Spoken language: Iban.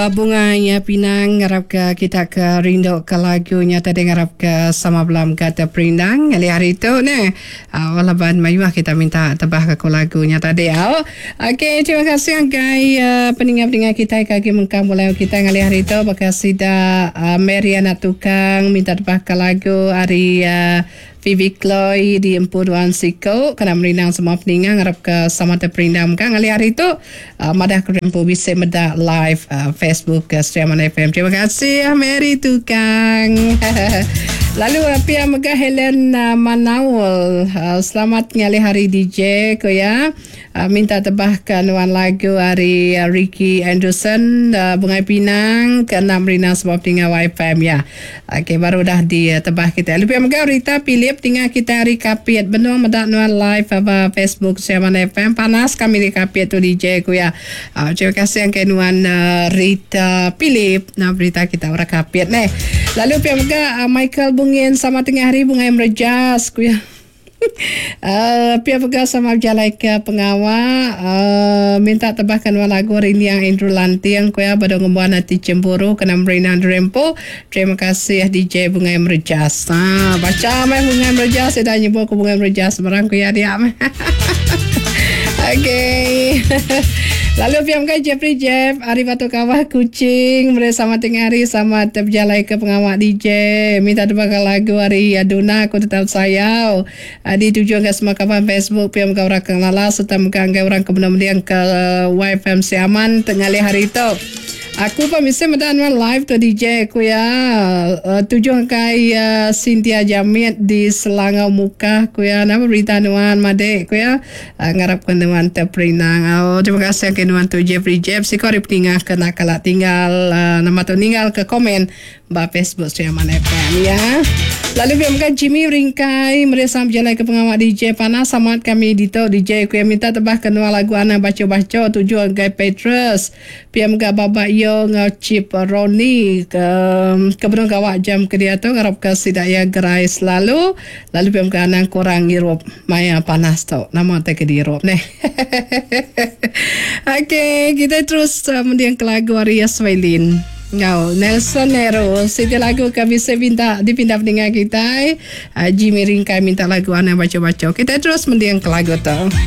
Bungai Pinang ngarap ke kita ke rindu ke lagu nya tadi ngarap ke sama bela mega teperindang ngalih hari tu neh. Au laban mayuh kita minta tebah ke ku lagu nya tadi au. Okey terima kasih ngagai peninga-peninga kitai ke agi mengkang bulai enggau kitai ngalih hari tu baka sida Mary anak tukang minta tebah ke lagu ari Phoebe Chloe di empu nuan siku kena merindang semua peninga ngarap ke sama teperindang mega ngalih hari tu madah ke empu bisi meda live Facebook ke Sri Aman FM. Terima kasih Mary Tukang. Lalu pia mega Helen Manaul selamat ngalih hari DJ ko iya. Minta tebahka nuan lagu ari Ricky Anderson Bungai Pinang ke enda merindang semua peninga YFM ya. Ok baru udah ditebah kitai. Lalu pia mega Rita Philip tinga kitai ari Kapit benung meda nuan live ba Facebook Sri Aman FM. Panas kami di Kapit tu DJ ku iya. Terima kasih angkai nuan Rita Philip nama berita kita orang Kapit neh. Lalu pia mega Michael Bungin sama tengah hari Bungai Merejas ku iya. Pia mega sama bejalai ke pengawa minta tebahka nuan lagu Rinding Andrew Lanting ku iya bedau ngembuan ati cemburu kena merinang diri empu. Terima kasih DJ Bungai Merejas. Ha bacha meh Bungai Merejas ida nyebut ku Bungai Merejas barang ku iya dia meh. Okey. Lalu pia mega Jeffrey Jeff ari Batu Kawah Kuching meri sama tengah hari sama bejalai ke pengawa DJ minta tebaka lagu ari Aduna aku tetap sayau dituju ngagai semua kaban Facebook pia mega orang ke ngelala serta mega ngagai orang ke benung mending ke YFM Sri Aman ngalih hari tu. Aku pun bisi meda nuan live tu DJ ku iya tuju ngagai Cynthia Jamit di Selangau Mukah ku iya nama berita nuan madik ku iya ngarap ke nuan teperindang. Au terima kasih ngagai nuan tu Jeffrey Jeb siko ari peninga ke enda kala tinggal nama tu ninggal ke komen ba Facebook Sri Aman FM ya. Lalu pia mega Jimmy Ringkai meri sama bejalai ke pengawa DJ panas amat kami ditu DJ ku iya minta tebah ke nuan lagu anang bacho-bacho tuju ngagai Petrus. Pia mega Baba Iyo enggau Chip Ronnie ke ke benung gawa jam ke diatu ngarapka sida iya gerai selalu lalu pia mega anang kurang ngirup maya panas tu. Nama utai ke diirup neh. Okey kitai terus mendingka lagu ari Yaswailin enggau Nelson Nero siti lagu ke bisi pinta dipinta peninga kitai Jimmy Ringkai minta lagu anang bacho-bacho. Kitai terus mendingka lagu tu.